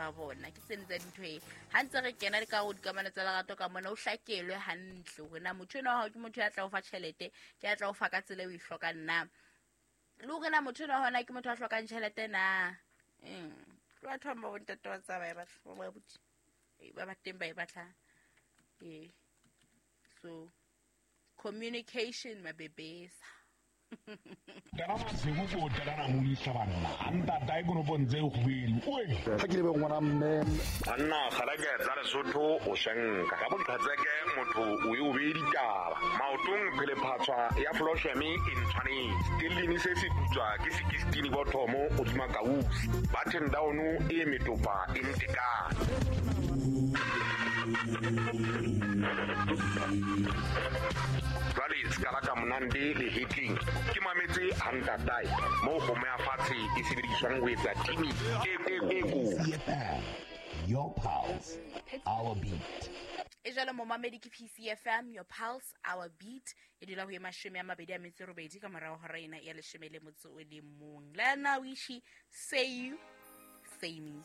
mahlo a bona. Ke tsene tsa dintho e ha ntse re kena le ka go dikamano tsa lerato ka mona, o hlakelwe hantle hore na motho enwa wa hao ke motho ya tla o fa tjhelete, ke ya tla o fa ka tsela e o e hlokang na, le hore na motho enwa hona ke motho a hlokang tjhelete na. Ke batho ba ba bontate wa tsa ba e batla, ba abuti ba ba teng ba e batlang. Ee, so communication, mabebesa. Tala masigo ko tala na modisa banna a ntata e konopong tse kgwedi oe ga ke lebe ngwana mme. Banna kgaleke tsa Lesotho o shenka ka boqhetseke motho o e o bee ditaba maotong phelephatshwa ya flosheme e ntshwanetse telline se se putswa ke sekistini bothomo godima kausi button down e metopa e ntekane. Jwale se ka la ka monande le hetleng ke mametse hantatae moo kgomo ya fatshe e sebediswang ho etsa timi e e e. PCFM, your pulse, our beat. E jalo momamedi, ke PCFM, your pulse, our beat. E dula ho e 28 ka morago hora ena ya 11. Le na wishi say you say me.